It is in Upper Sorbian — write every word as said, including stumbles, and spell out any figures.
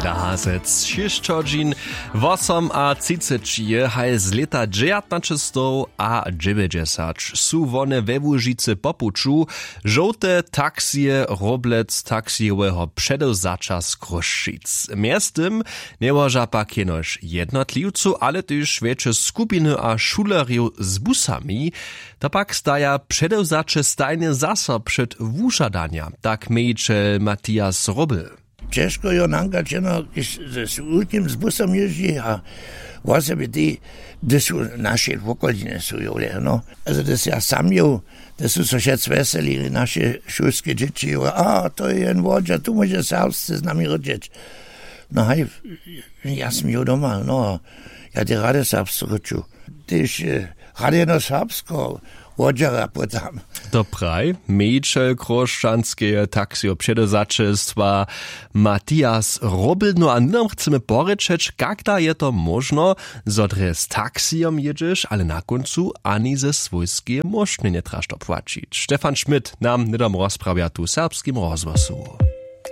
Lahasec šěsć hodźin wosom a třiceći je haj z lěta dźewjatnaćestowdźewjećdźesat su wone we łužicy po puću žołte taksije roblec taksijoweho předewzaća z chrósćic. Mjeztym njełoža pak jenož jednotliwcu ale tež wjetše skupiny a šulerjow z busami. To pak staja předewzaće stajnje zaso před wužadanja, tak mějićel matias roby. Ćežko jo nanka čeno, kiž z wulkim z busom jězdźi a wosebje ti, hdyž su naše wokolinje su jowle no, ale hdyž ja sam jow, hdyž su so wšec wjeselili naše šulske dźěći jow a to je jen wodźa tu móže serbsce z nami rěčeć. No haj, ja sym jow doma no, ja te rady serbsce rěču, tež rady jeno serbskeho wodźera pótam. To praj mějićel chróšćanskeje taksijo předewzaćelstwa matias robydno a hnydom chcemy porěčeć kak da je to móžno, zo drje z taksijom jědźeš ale na kóncu ani ze swójskeje móžnje njetraš to płaćić. Stefan schmidt nam hnydom rozprawja tu w serbskim rozhłosu.